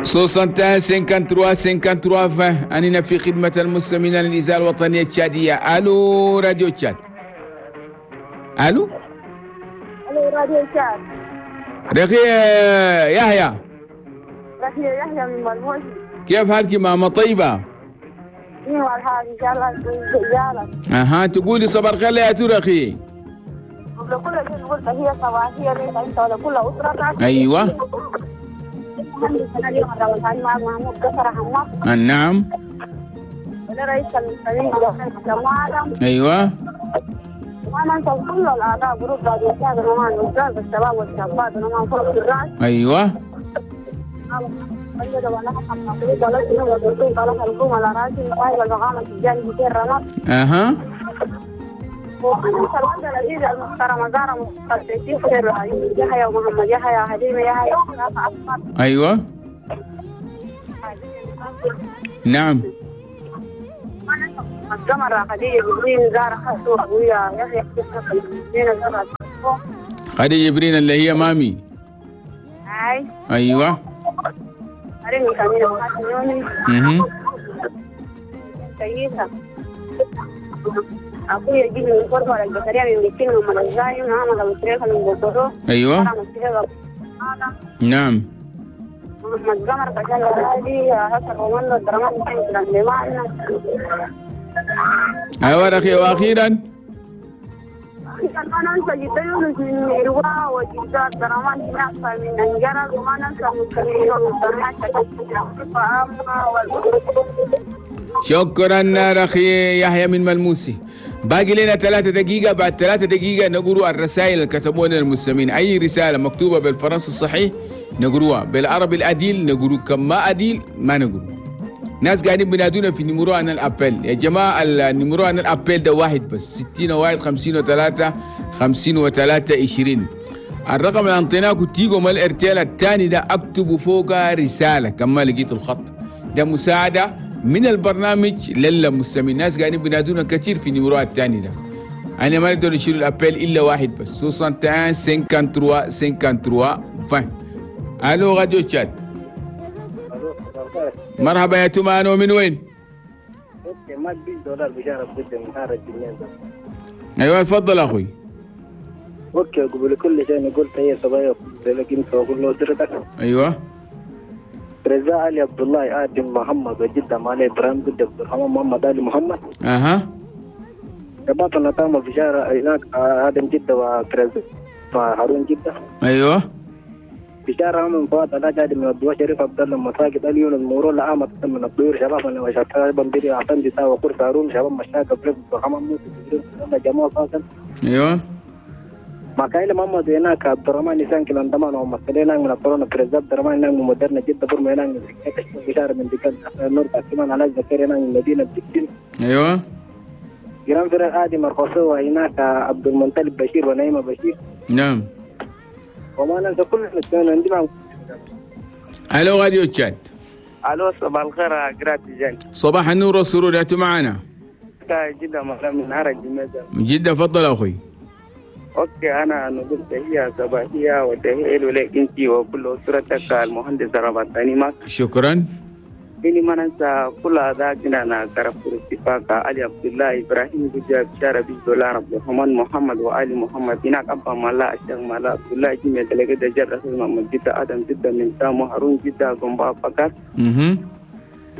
61 53 53 20. أننا في خدمة المستمعين للإذاعة الوطنية التشادية. ألو راديو تشاد. ألو ألو راديو تشاد. رخي يحيى. رخي يحيى من ملموسي. كيف حالك ماما طيبة؟ ايوه الحال ان شاء الله زيارة. اها تقولي صباح الخير يا ترخي. قبل كل شيء نقول تحية صباحية لك انت ولكل اسرتك. ايوه. نعم. ايوه. ايوه. اها. ايوه. نعم. خديجة جبرين اللي هي مامي. ايوه. ايوه. نعم. ايوه اخي. واخيرا ما ننسى جدا يونس من روا وجدا درمان هناك من انجرل وما ننسى مستمعين. شكرا اخي يحيى من ملموسي. باقي لنا 3 دقيقة، بعد 3 دقيقة نقرأ الرسائل اللي كتبوها لنا المستمعين. أي رسالة مكتوبة بالفرنسي الصحيح نقروها، بالعربي الأديل نقرو، كم ما أديل ما نقرو. ناس قاعدين بينادونا في numéro عن ال appel. يا جماعة ال numéro عن ال appel ده واحد بس، 60 1 53 53 20. الرقم اللي أنطيناه تيجوا مال الارتيال الثاني ده اكتبوا فوقها رسالة كما لقيتوا الخط ده، مساعدة من البرنامج للمستمعين. ناس قاعدين بينادونا كثير في numéro الثاني ده، أنا ما نقدر نشيل ال appel إلا واحد بس، 61 53 53 20. ألو راديو تشاد. مرحبا يا تومان، ومن وين؟ ايوه تفضل اخوي. okay قبل كل شيء نقول تحية صبايا لك انت وكل اسرتك. ايوه. رزاق علي عبد الله ادم محمد وجده مالي ابراهيم جد عبد الرحمن محمد علي محمد. اها. شباب نتامى بشارة هناك ادم جده وكرز هارون جده. ايوه. بشارة من فؤاد لا جاد من الدوا شريف عبد الله مساجد اليون المورو لا عامة من الطيور شباب انا وشباب بندري عطندي تا وقرص هارون شباب مشاك عبد الرحمن موسى جبريل جمال فاصل. ايوه. ما كايل محمد هناك عبد الرحمن نسان كلام دمان ومسلين من الطرون كرز عبد الرحمن هناك مدرنا جدة برما هناك بشارة من دكان نور تاكمان على زكريا هناك من مدينة دكتين. ايوه. جيران فرق آدم القصوى هناك عبد المنطلب بشير ونعيمة بشير. نعم. وما ننسى كل المستمعين عندي معهم. الو راديو تشاد. الو صباح الخير قرات جان. صباح النور والسرور، انتم معنا؟ جدة من عرج من جدة. تفضل اخوي. okay انا نقول تحية صباحية وتحية لك انت وكل اسرتك المهندس رمضان معك. شكرا. إني ما ننسى كل هذا أنا طرف الاتفاق علي عبد الله إبراهيم بجاب شارع دولار عبد الرحمن محمد وآل محمد هناك أبا ملا الشيخ ملا عبد الله جميع تلقى جاب رسول محمد جدة آدم جدة من تامو هارون جدة قنبا فقط.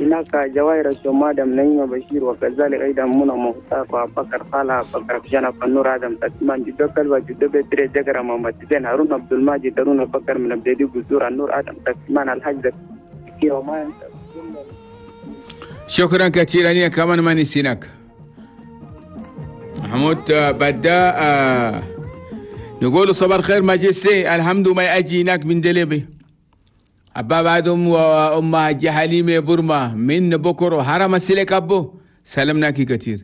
هناك جواهر الشمادم نعيمة بشير وكذلك أيضا منى مختار وبكر خالة بكر جانا فنور آدم تسمان جدة كلوة جدة بتري جكرة محمد زين هارون عبد الماجد هارون بكر من أبدي بزور النور آدم تسمان الحاج زكي وما ينسى. شكرا كثيرا لك كمان ما نسيناك محمود. بدا نقول صباح الخير ماجستي، الحمد ما اجي هناك من دليبي أبا بعدهم وأمها جحليمة برما من بكر وحرم السلك أبو سلمناك كثير.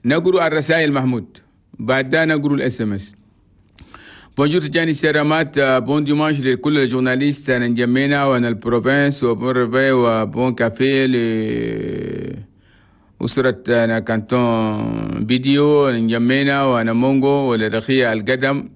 نقرأ الرسائل محمود بعدها نقرأ ال SMS. Bonjour Tijani Seramat, bon dimanche لكل ال journalistes نجمينا وانا ال province و bon réveil و bon café لأسرة أنا كانتون فيديو نجمينا وانا مونغو ولرخية القدم،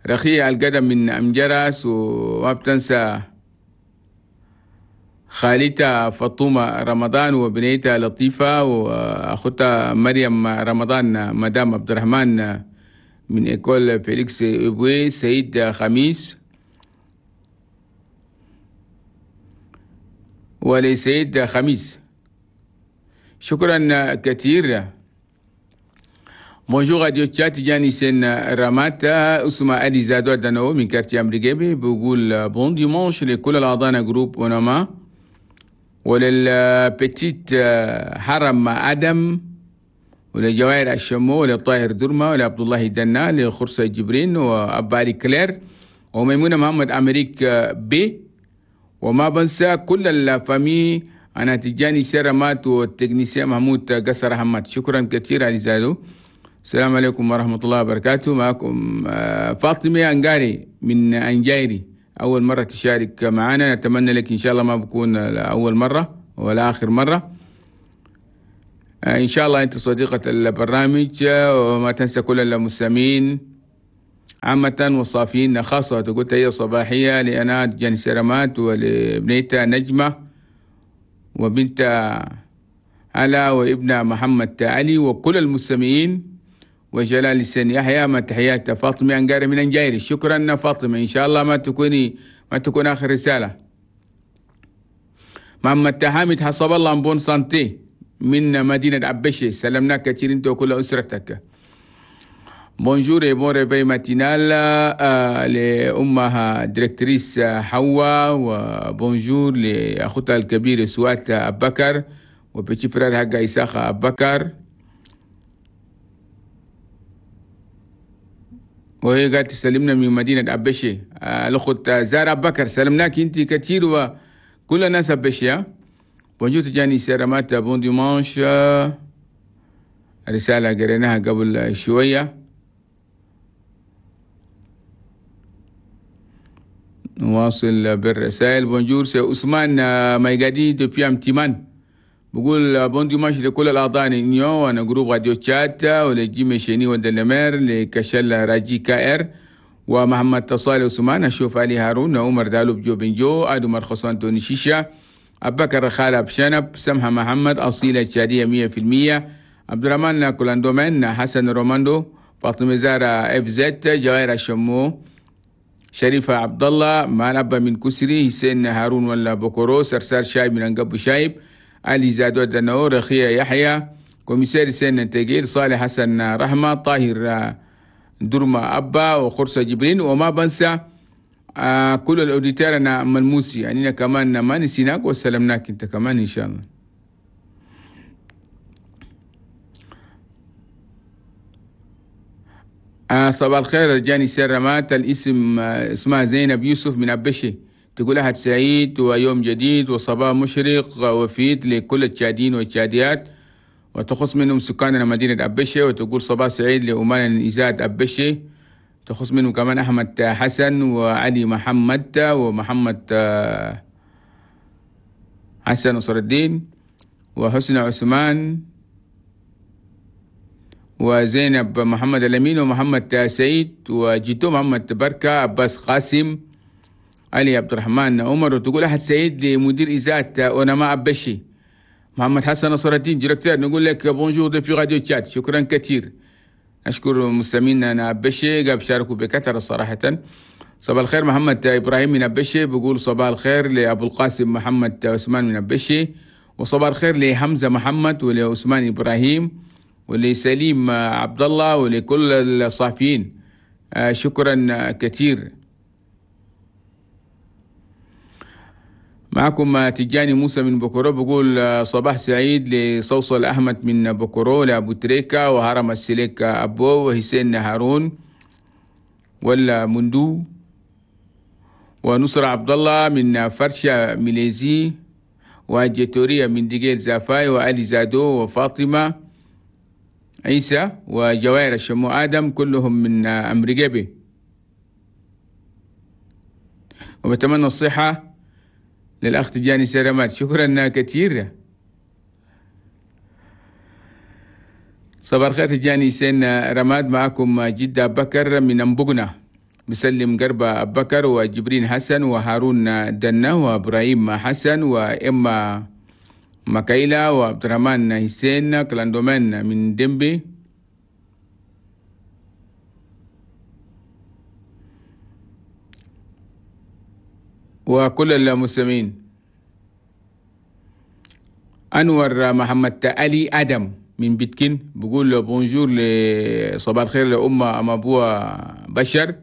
رخية القدم من أمجرس. وما بتنسى خالتها فاطمة رمضان وبنيتها لطيفة وأختها مريم رمضان، مدام عبد الرحمن من école فيليكس إبوي، سيد خميس ولسيد خميس. شكرا كثير. Bonjour Radio Tchad، تجاني سن راماتا اسمه علي زادو دانو من quartier أمريكي، بيقول bon dimanche لكل الأعضاء groupe أوناما ولل petite حرم آدم ولجوائر الشمو وللطاهر درما ولعبد الله دنا لخرسة جبرين وأباري كلير وميمونة محمد أمريك بي، وما بنسى كل ال famille. أنا تجاني سيرامات وال technicien محمود قصر حماد. شكرا كثير علي زادو. السلام عليكم ورحمة الله وبركاته. معكم فاطمة أنقاري من أنجايري، أول مرة تشارك معنا، نتمنى لك إن شاء الله ما بكون أول مرة ولا آخر مرة. إن شاء الله أنت صديقة البرنامج، وما تنسى كل المستمعين عامة والصافيين خاصة. تقول تحية صباحية لأنا جاني سرمات ولبنيتها نجمة وبنت علا وابن محمد علي وكل المستمعين وجلال السن يحيى. ما تحيات فاطمة أنقاري من أنجايري. شكرا فاطمة، إن شاء الله ما تكون آخر رسالة. محمد حامد حسب الله bonne santé من مدينة عبشي، سلمناك كثير أنت وكل أسرتك. Bonjour et bon réveil matinal لأمها directrice حواء، و bonjour لأخوتها الكبير سوات أبكر و petit frère حقها إساخة أبكر. وهي قالت تسلمنا من مدينة أبشي. الأخت زارة بكر سلمناك أنت كثير وكل الناس أبشي. Bonjour تجاني سيرامات، bon dimanche. رسالة قريناها قبل شوية. نواصل بالرسائل. Bonjour c'est عثمان مايقادي depuis أمتيمان، بقول bon dimanche لكل الأعضاء نيو وأنا groupe راديو تشات ولجيمي شيني ودلمير لكشل راجي كائر ومحمد تصالي عثمان، أشوف علي هارون، عمر دالوب جو بنجو، آدو مرخصان توني شيشة، أبكر خالب شنب، سمحة محمد، أصيلة تشادية 100%، عبد الرحمن كولاندومين، حسن روماندو، فاطمة زارة اف زد، جوائر الشمو، شريفة عبد الله، مالبا من كسري، حسين هارون ولا بوكورو، سرسار شايب من أنقب شايب، علي زادو دنو، رخية يحيى، commissaire سين تجير، صالح حسن رحمة، طاهر درما أبا، وخرسة جبرين. وما بنسى كل ال auditeurs أنا ملموسي، يعني كمان ما نسيناك وسلمناك أنت كمان إن شاء الله. صباح الخير رجاني سرمات. الاسم اسمها زينب يوسف من أبشي، تقول أحد سعيد ويوم جديد وصباح مشرق وفيد لكل التشادين والتشاديات، وتخص منهم سكاننا مدينة أبشي. وتقول صباح سعيد لأمان إزاد أبشي، تخص منهم كمان أحمد حسن وعلي محمد ومحمد حسن نصر الدين وحسن عثمان وزينب محمد الأمين ومحمد سعيد وجيتو محمد بركة، عباس قاسم، علي عبد الرحمن عمر. وتقول أحد سعيد لمدير إذاعة أونما أبشي محمد حسن نصر الدين directeur، نقول لك bonjour depuis راديو تشاد. شكرا كثير، أشكر مستمعينا أبشي قاب شاركوا بكثرة صراحة. صباح الخير محمد إبراهيم من أبشي، بقول صباح الخير لأبو القاسم محمد عثمان من أبشي، وصباح الخير لحمزة محمد ولعثمان إبراهيم ولسليم عبد الله ولكل الصحفيين. شكرا كثير. معكم تجاني موسى من بكرو، بقول صباح سعيد لصوصل أحمد من بكرو، لأبو تريكا وهرم السليك أبو وحسين هارون ولا مندو ونصر عبد الله من فرشة ميليزي وجيتوريا من ديجيل زافاي وعلي زادو وفاطمة عيسى وجوائر الشمو آدم، كلهم من أمريكا. وبتمنى الصحة للأخ تجاني سلامات. شكرا كثير. صباح الخير تجاني سين رماد، معكم جدة بكر من أمبقنا، مسلم قربة بكر وجبرين حسن وهارون دنا وإبراهيم حسن وإما مكايلا وعبد الرحمن حسين كلاندومان من ديمبي. وكل المسلمين. أنور محمد علي آدم من بيتكين بقول بونجور لصباح الخير لأمة أم أبوها بشر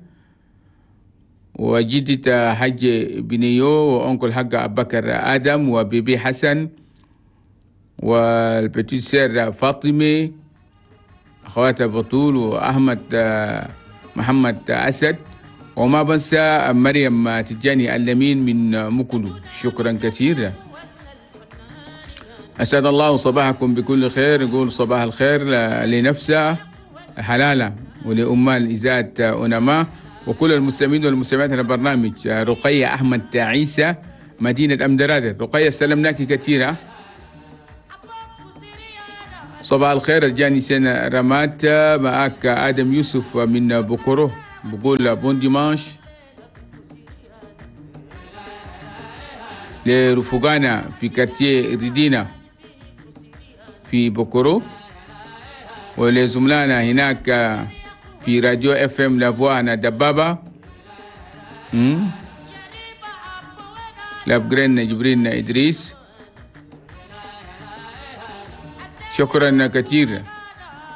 وجدة حج بنيو وأنكل حق أبو بكر آدم وبيبي حسن والبتيت سير فاطمة أخواتها بطول وأحمد محمد أسد، وما بنسى مريم تجاني اللمين من مكلو. شكرا كثير. أسعد الله صباحكم بكل خير. يقول صباح الخير لنفسه حلالة ولأمال إذاعة أنما وكل المستمعين والمستمعات على البرنامج. رقية أحمد عيسى مدينة أمدرادر. رقية سلمناك كثيرا. صباح الخير الجاني سنة رمات. معك آدم يوسف من بكره بقول bon dimanche لرفقانا في quartier ريدينا في بكرو ولزملائنا هناك في راديو FM La Voix دبابة لابجرين جبرين إدريس. شكرا كثير.